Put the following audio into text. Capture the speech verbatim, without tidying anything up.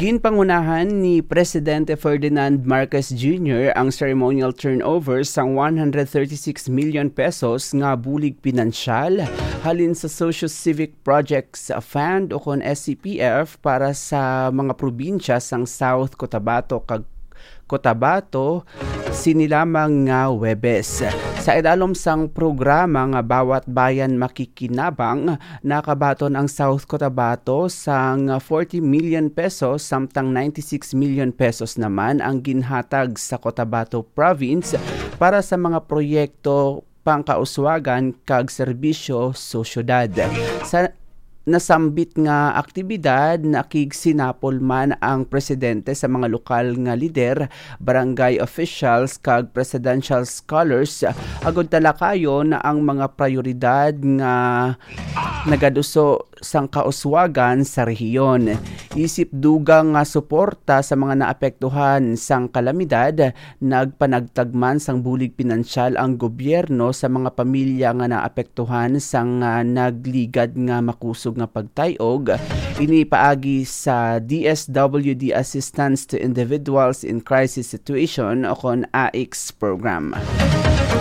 Ginpangunahan ni Presidente Ferdinand Marcos Junior ang ceremonial turnover sang one hundred thirty-six million pesos nga bulig pinansyal halin sa Socio-Civic Projects Fund o kon S C P F para sa mga probinsya sang South Cotabato kag Cotabato sini lamang nga Huwebes. Sa idalom sang programa nga Bawat Bayan Makikinabang, nakabaton ang South Cotabato sang forty million pesos, samtang ninety-six million pesos naman ang ginhatag sa Cotabato Province para sa mga proyekto pangkauswagan kag serbisyo sa syudad. Sa nasambit nga aktibidad, nakigsinapol man ang presidente sa mga lokal nga lider, barangay officials, kag presidential scholars agud talakayon ang mga prioridad nga nagaduso sang kauswagan sa rehiyon. Isip dugang nga suporta sa mga naapektuhan sang kalamidad, nagpanagtag man sang bulig pinansyal ang gobyerno sa mga pamilya nga naapektuhan sang, ah, nagligad nga makusog nga pagtay-og, ini paagi sa D S W D Assistance to Individuals in Crisis Situation o kon A I C S program.